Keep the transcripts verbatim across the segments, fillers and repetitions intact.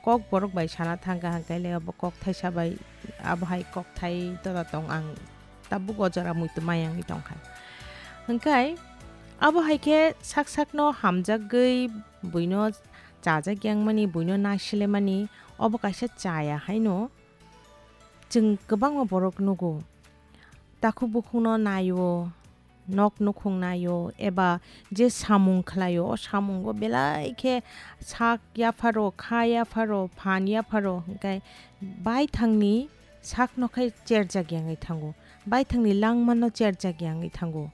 kok borok bai sana thangkha, hwnkhe le abo kok thaisa bai, abo hai kok thai tola tong ang tabuk o jora muitu mayangwi tongkha. Hwnkhe abo hai khe sak sakno hamjagwi buino chajak yangmani, buino nasilemani, obo kaisa chaya haino chwng kwbangma borok nugo. Takhuk bukhukno naio, nok nukhung naio, eba je samung khlaio, o samungo belai khe sak yapharo, kha yapharo, phan yapharo, hwnkhe baithangni sakno khe cherjak yangwi thango, baithangni langmano cherjak yangwi thango.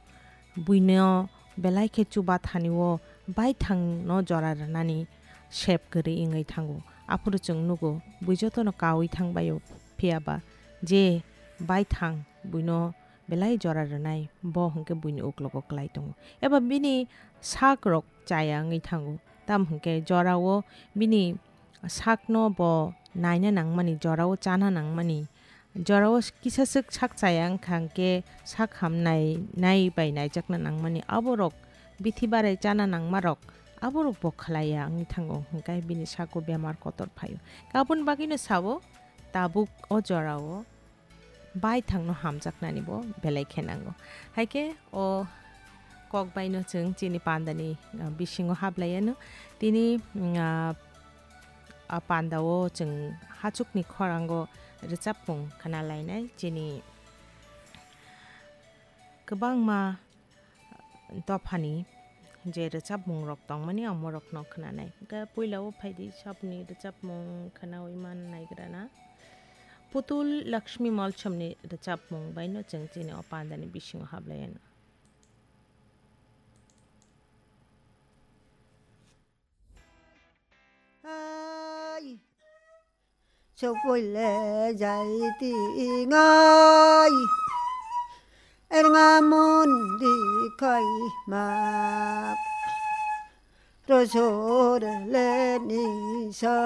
Buino belai khe chuba thani o baithangno jora rwnani sep kwrwi wngwi thango. Aphuru chwng nugo, bui jotono kaui thangbaio, phiyaba je baithang buino belai jora rwnai, bo hwnkhe buini uklogo klai tongo. Eba bini sak rok chaya wngwi thango, tamo hwnkhe jorao bini sakno bo naina nangmani, jorao chana nangmani, jorao kisa swk sak chaya wngkha hwnkhe sak ham nai, nai bai naijakna nangmani, aborok bithi barai chana nangmarok aborok bo khlaiya wngwi thango, hwnkhe bini sago bemar kotor phaio. Aboni bagwino sao, tabuk o jorao baithangno hamjaknani bo belai khe nango. Hai khe o kok baino chwng chini pandani, ah, bisingo hablaiano. Tini, mm, ah, a pandao chwng hachukni khorango rwchapmung khna lainai. Chini kwbangma dophani je rwchapmungrok tongmani, omorokno khwnanai. Hwnkhe puilao phaidi sabni rwchapmung khwnaui man naigrana. Putul Lakshmi Molsomni rwchapmung baino chwng chini o pandani bisingo hablaiano. Hai. Sokpoi le jai tingai, erga mondi khai ma, rosor le nisa,